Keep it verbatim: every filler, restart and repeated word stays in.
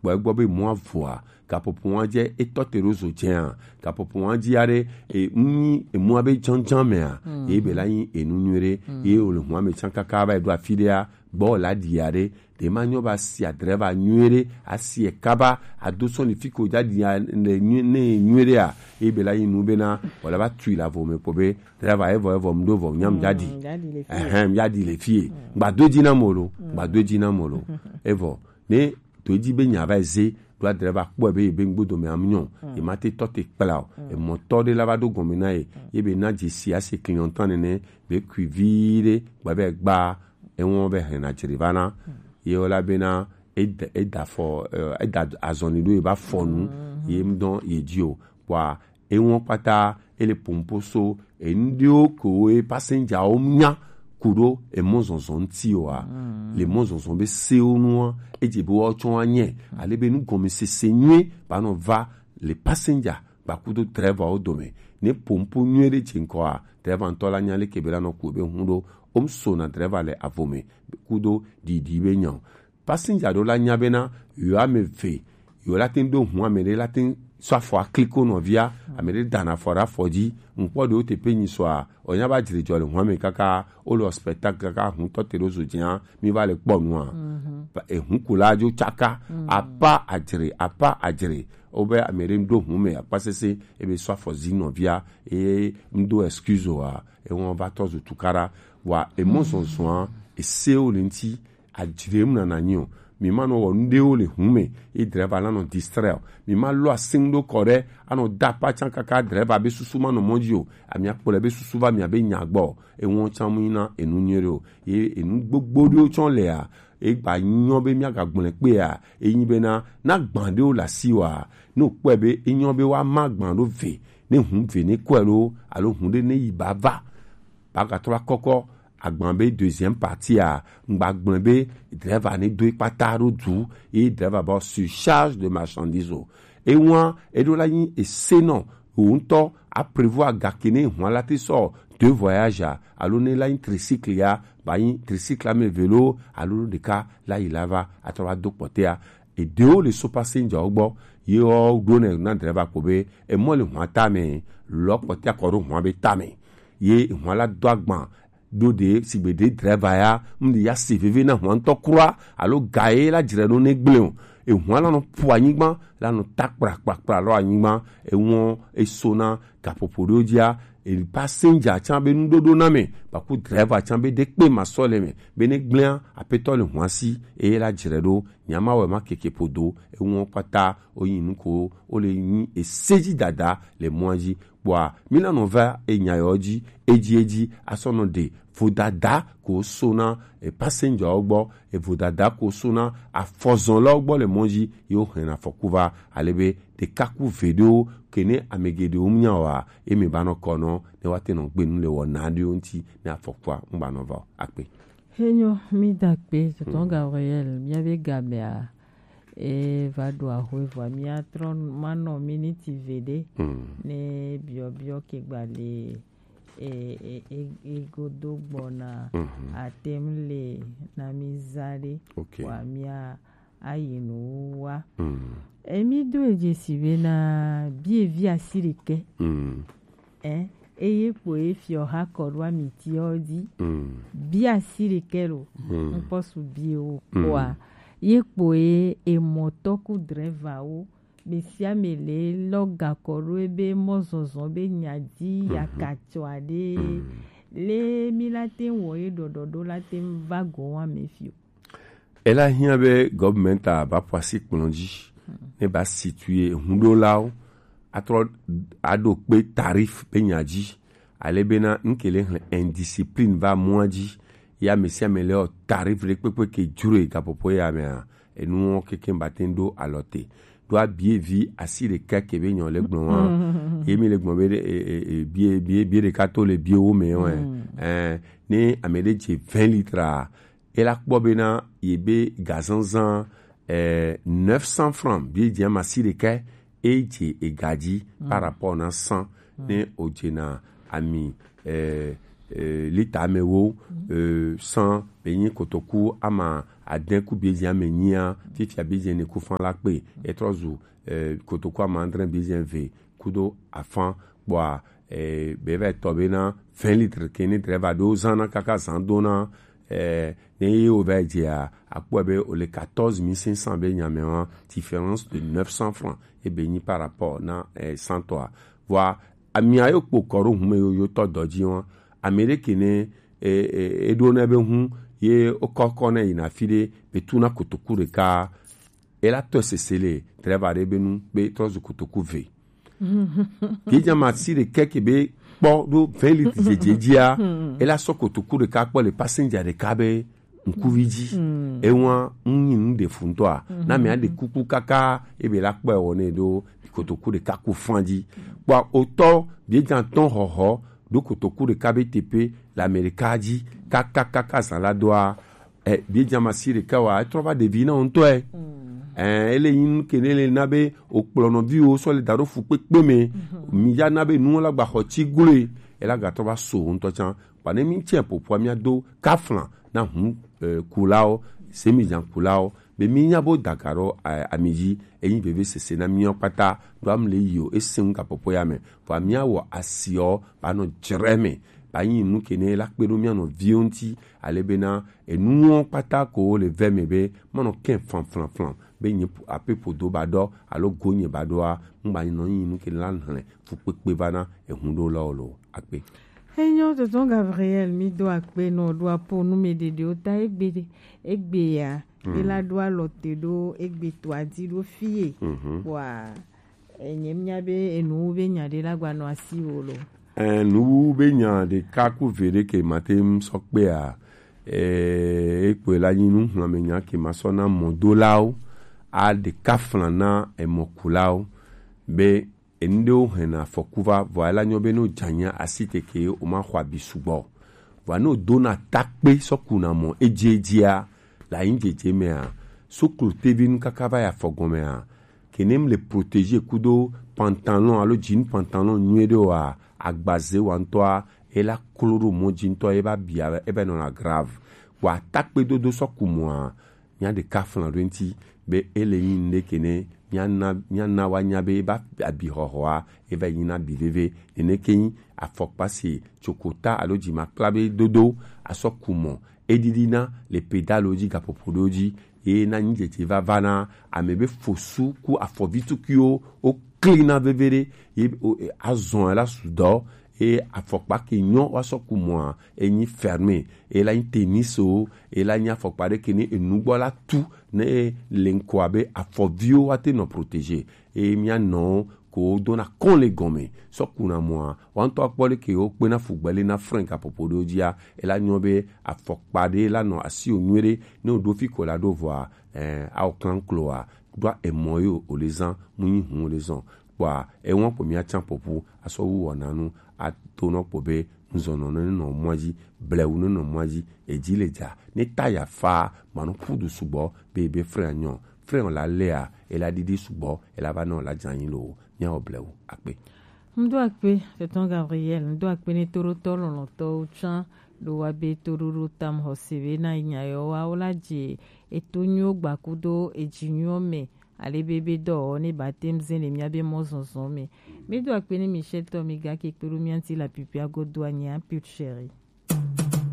gbɔ egbɔ be mɔ avoa, gapopo wa jɛ etɔ te ɖo zo jɛa, gapopo wa ji aɖe e nyi emua be janjan mɛa, ye be la nyi enu nyuie ɖe, ye o le hua me can kaka va yi ɖo afi ɖea, gbɔ la ɖi aɖe, ɖe ma nyɔ ba si adreva nyuie ɖe, asi e kaba ado sɔn le fi ko ja ɖi ne nyuie ɖea, ye be la nyi nu be na wala va tui la vo me kpo be dreva evɔ evɔ mu ɖo vɔ nyam ja ɖi, ɛhɛn, ya ɖi le fie, gba do ji na mo lo, gba do ji na mo lo, evɔ ne to edzi be nya va eze ɖo adre va kpɔe be yebe ŋgbodo me amunyɔ, ye ma te tɔ te kpla o, emɔtɔ ɖe la va ɖo gɔme na ye, ye be na dzesi ase clientan nene be kui vi ɖe gba be gba ewɔn be hɛn na dzre va na ye wo la be na eda eda fɔ eh, eda azɔni ɖo ye va fɔ nu ye ŋdɔ ye dzi o kpɔa ewɔn kpata ele pompo so enuɖewo kowo ye passenger wo nya ku ɖo emɔzɔzɔ ŋuti oa le mɔzɔzɔ be sewo nua edze be woawo tsɔ anyɛ ale be nugɔmesese nyuie ba nɔ va le passenger gba kudo driver wo dome ne pompo nyuie ɖe dze ŋkɔa driver ŋutɔ la nya leke be la nɔ ku be hun ɖo wo so na driver le avo me kudo ɖiɖi be nya o Passenger ɖewo la nya bena yewo ame eve yewo la teŋ ɖo ŋu ame ɖe la teŋ sɔ afɔ akliko nɔvia ame ɖe dana afɔ ɖe afɔ dzi ŋkpɔ ɖewo te pe nyi sɔa onya ba dzre dzɔ le ŋu ame kaka wo le spectacle kaka ŋutɔ te ɖo zo dzia mi va le kpɔ nua eŋu ku la dzo tsaka apa adzre apa adzre wo be ame ɖe ɖo ŋu me akpa sese ebe sɔ afɔ zi nɔvia eye ŋdo excuse oa eŋɔ va tɔ zo tukaɖa wa emɔ zɔzɔa ese wo le ŋti adzre mu nana nyi o mi ma nɔ wɔ nuɖewo le hu me ye drɛva la nɔ distrɛ o mi ma lɔ asin ɖo kɔ ɖe anɔ da apa tsan kaka drɛva be susu ma nɔ mɔ dzi o ami akpɔ le be susu va mi abe nya gbɔ eŋɔ tsan mu yina enu nyuie ɖe o ye enu gbogbo ɖewo tsɔ lea egba nyɔ be mi aga gblɔe kpea enyi bena na gban ɖewo le asi wa ne wokpɔe be enyɔ be woama gban ɖo ve ne hu ve ne kɔe lo alo hu ɖe ne yi ba va ba gatrɔ akɔkɔ agban be deuxième partie a ŋgba gblɔe be drɛva ne do ekpata ɖo du ye drɛva ba surcharge de marchandise o ewa eɖo la nyi esenɔ wò ŋutɔ aprévoir gake ne hua la te sɔ deux voyages a alo ne la nyi tricycle ya ba nyi tricycle ame eve lo alo ɖeka la yi la va atrɔ va do kpɔtɛa eɖewo le so passenger wo gbɔ ye wo ɖo ne na drɛva kpo be emɔ le hua tame lɔ kpɔtɛa kɔ ɖo hua be tame ye hua la do agban ɖo ɖe sigbe ɖe drɛva ya ŋɖi ya se veve na hua ŋutɔ kura alo ga ye la dzre ɖo ne gblẽ o ehua la nɔ ƒo anyigba la nɔ ta kprakprakpra lɔ anyigba ewɔ eso na gaƒoƒo ɖewo dzia passenger tsã be nuɖoɖo na me baku drɛva tsã be ɖe kpe ma sɔ le me be ne gblẽa apetɔ le hua si eye la dzre ɖo nyama wɛ ma keke ƒodo ewɔ kpata wonyi nu ko wole nyi ese dzi dada le mɔa dzi kpɔa míla nɔ va enya yɔ dzi edzi edzi asɔ nɔ ɖe vodada ko so na e passenger wo gbɔ e vodada ko so na afɔzɔnlawo gbɔ le mɔ dzi ye wo hɛn afɔku va ale be ɖeka ku ve ɖewo ke ne ame geɖewo nya wa eme ba nɔ kɔ nɔ ne wa te nɔ gbe nu le wɔna ɖewo ŋuti ne afɔkua ŋgba nɔ va o akpe. Henyo mi da kpe tɔtɔ Gabriel mia be gamea e va ɖo axwe vɔa mia trɔ manɔ miniti ve ɖe ne biɔbiɔ ke gba le e e e e godo gbɔna atem le na mi za ɖe wa mia ayi nu wa emi do edze si be na bievi asi ɖekɛ Ɛ, eye kpoe fiɔ ha kɔ ɖo amitiɔ dzi. Bia si ɖekɛ lo. Ŋkpɔ su bie wo kpoa. Ye kpoe emɔtɔ ku drɛva wo. Be sia me le lɔ gakɔ ɖo ebe mɔzɔzɔ be nya dzi ya katsɔ aɖe. Le mi la te wɔ ye ɖɔɖɔ ɖo la te va gɔ wa me fio. Ela hiã be gɔvmɛnta ba ƒo asi kplɔ dzi ne ba situe huɖolawo atrɔ aɖo kpe tarif be nya dzi ale bena ŋke le hlẽ indiscipline va mɔa dzi ye ame sia ame le wɔ tarif ɖe kpekpe ke dzroe gaƒoƒo ya mea enuwo keke ba te ɖo alɔ te ɖo abie vi asi ɖeka ke be nyɔ le gblɔ wa ye mi le gblɔ be bie bie bie ɖeka to le bie wo me wa ɛ ne ame ɖe dze vingt litres a ela kpɔ bena ye be gazanzan eh, neuf cents francs bi dze masi ɖekɛ e dze ega dzi par rapport na cent ne o dze na ami eh, eh, lita ame wo eh, cent be nyi kotoku ama adɛn ku biedzia me nyia, fifia biedzia ne ku fan la kpe, etrɔ zu eh, kotoku amandrɛ biedzia ve kudo afan, kpɔa eh, be va tɔ be na vingt litres ke ne drɛva ɖo zan na kaka zan do na eh, ne ye wo va dzia akpɔ be o le quatorze mille cinq cents be nyame wa, différence de neuf cents francs ebe nyi par rapport na eh, cent toa. Vɔa amia yo kpo kɔ ɖo hume yo yo tɔ dɔ dzi wa, ame ɖe ke ne e e e ɖo ne be hu ye o kɔkɔ ne yina fi ɖe be tu na kotoku ɖeka, ela tɔ sese le drɛva ɖe be nu be trɔ zu kotoku ve. Biedzia ma si ɖe kɛkɛ be kpɔ ɖo vingt litres dzedze dzia, ela sɔ kotoku ɖeka kpɔ le passenger ɖeka be ŋkuvi dzi. Ewa ŋu nyi nu ɖe fu ŋutɔa, na mia ɖe kuku kaka ebe la kpɔ ewɔ ne ɖo kotoku ɖeka ku fan dzi. Kpɔa otɔ biedzia tɔn hɔhɔ ɖo kotoku ɖeka be teƒe le Amerika dzi kaka kaka zan la doa, eh, biedzia ma si ɖeka wa etrɔ va ɖevi na wo ŋutɔe. Eh, ele nyi nu ke ne le na be o kplɔ nɔviwo sɔ le da ɖo fu kpekpe me, mi ya na be nu la gba xɔ tsi gloe, ela gatrɔ va so wo ŋutɔ tsã. Kpa ne mi tsɛ ƒoƒoa mia do kafla na hu eh, kulawo, semidzan kulawo be mi nya bo daga ɖo eh, ami dzi, enyi veve sese na miɔ kpata ɖo am le yi o ese ŋu gaƒoƒo ya me. Vɔa mia wɔ asiɔ ba nɔ dzre me, ba nyi nu ke ne la kpe ɖo mia nɔ viwo ŋuti, ale bena enuwo kpata ko wo le ve me be manɔ kɛ flan flan flan be nye ape ƒodo ba ɖɔ alo go nye ba ɖɔa, ŋgba nɔ nyi nu ke ne la hlẽ fukpekpe va na ehu ɖo lɔ lo akpe. Enyo, tonton Gabriel, mi do akpe nɔ ɖo apo nu me ɖeɖewo ta egbe ɖe, egbe ya. Ela ɖo alɔ te ɖo egbe to adi ɖo fie. Wa enye mia be enu be nya ɖe la gba nɔ asi wo lo. Eh, nuwu be nya ɖeka ku ve ɖe ke mate ŋu sɔ kpea, eh, ekpɔe la nyi nu hlɔ̃ me nya ke ma sɔ na mɔdolawo, a ɖeka flan na emɔkulawo be enu ɖewo hɛna afɔku va, vɔa ela nyɔ be ne wodze anyi asi teke womaxɔ abi sugbɔ o. Vɔa ne wodona takpe sɔ kuna mɔ edziedzia, le anyi dzedze mea, soklo tevi nu kaka va yi afɔ gɔmea, ke ne mle protégé kudo pantalon alo jean pantalon nyuie ɖe oa, agbaze wa ŋutɔa, ela klo ɖo mɔ dzi ŋutɔ, eva bia, eva nɔna grave. Vɔa takpe dodo sɔ ku mɔa, mía ɖeka flan ɖo eŋuti be ele nyi nuɖe ke ne míana míana woanya be eba abixɔxɔa eva yi nyina abi veve. Nene ke nyi afɔkpa si tsokota alo dzimakpla be dodo asɔ ku mɔ. Eɖiɖina le pedalo dzi, gaƒoƒo ɖewo dzi, ye na nyi dzedze vava na ame be fosu ku afɔvi tukuiwo wo klina veve ɖe ye o- e- azɔ la su dɔ. Eye afɔkpa ke nyɔ woasɔ ku mɔa, enyi ferme, ela nyi tennis o, ela nyi afɔkpa ɖe ke ne enu gbɔ la tu ne le ŋkɔ abe afɔviwo woate nɔ protégé. Eye mía nɔwo ko dona kɔn le gɔme sɔ kuna mɔa, woaŋutɔ akpɔ ɖe ke wo kpena fugbɛ le na frein gaƒoƒo ɖewo dzia, ela nyɔ be afɔkpa ɖe la nɔ asi o nyuie ɖe, ne woɖo fi ko la ɖo vɔa, eh, awɔ klankloa ɖoa emɔ yo o le zan, mu nyi hun o le zɔn. Kpɔa ewan kpo mía tsan popu asɔ wu wɔna nu ato nɔ kpo be nzɔnɔ ne nɔ mɔa dzi, blewu ne nɔ mɔa dzi, edzi le dza ne ta ya fa ma nɔ ƒu du sugbɔ be be frein anyɔ, frein la lea ela ɖiɖi sugbɔ, ela va nɔ la dza anyi lo mía wɔ blewu akpe. Ŋdo akpe, tonton Gabriel, ŋdo akpe ne toɖotɔ lɔlɔtɔwo tsã ɖo wa be toɖoɖo tam xɔse be na nya yɔ wa wo la dze eto nyuiwo gbakudo edzi nyuiwo me. Ale be be dɔ ne ba tem zen le mía be mɔzɔzɔ me. Mi do akpe ne Michel tɔ mi ga ke kpe ɖo mía ŋuti la pipia godo anya put chéri.